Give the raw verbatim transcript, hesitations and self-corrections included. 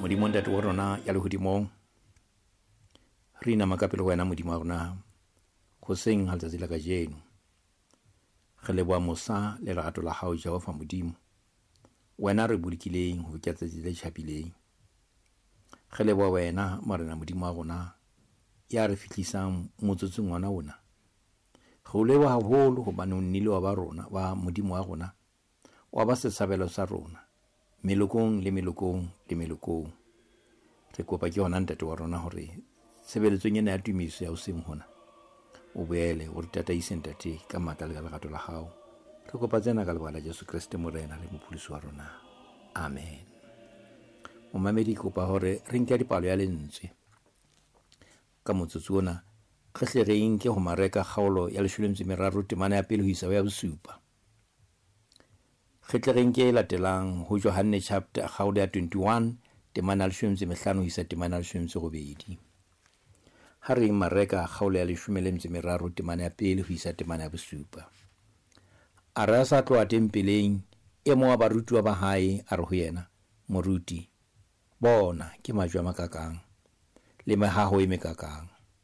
Modimo Ntate wa rona ya lehodimong, re inama ka pele ho wena Modimo wa rona hoseng ha letsatsi la kajeno. Re leboha mosa le lerato la hao Jehova Modimo, wena re bolokileng ho fihla tsatsi le tjhabileng. Re leboha wena Morena Modimo wa rona ya re fihlisang motsotsong ona ona. Re o leboha haholo hobane o nnile wa ba rona wa Modimo wa rona, wa ba setshabelo sa rona melokong le melokong le melokong. Re kopa ke hona Ntate wa rona hore tshebeletsong ena ya tumiso ya hoseng hona o boele o re tataise Ntate ka matla le ka lerato la hao. Re kopa tsena ka lebaka la Jesu Kreste Morena le Mopholosi wa rona. Amen. Momamedi, ke kopa hore re nke dipalo ya lentswe ka motsotso ona, re hle re nke ho Mareka kgaolo ya leshome le metso e meraro temana ya pele ho isa ho ya bosupa. Re tle re nke e latelang ho Johanne chapter kgaolo ya twenty-one temana ya leshome le metso e mehlano ho isa temana ya leshome le metso e robedi. Ha re Mareka kgaolo ya leshome le metso e meraro temana ya pele ho isa temana ya bosupa. A re a sa tloha tempeleng, e mong wa barutuwa ba hae a re ho yena, Moruti, bona ke majwe a makakang le mehaho e mekakang.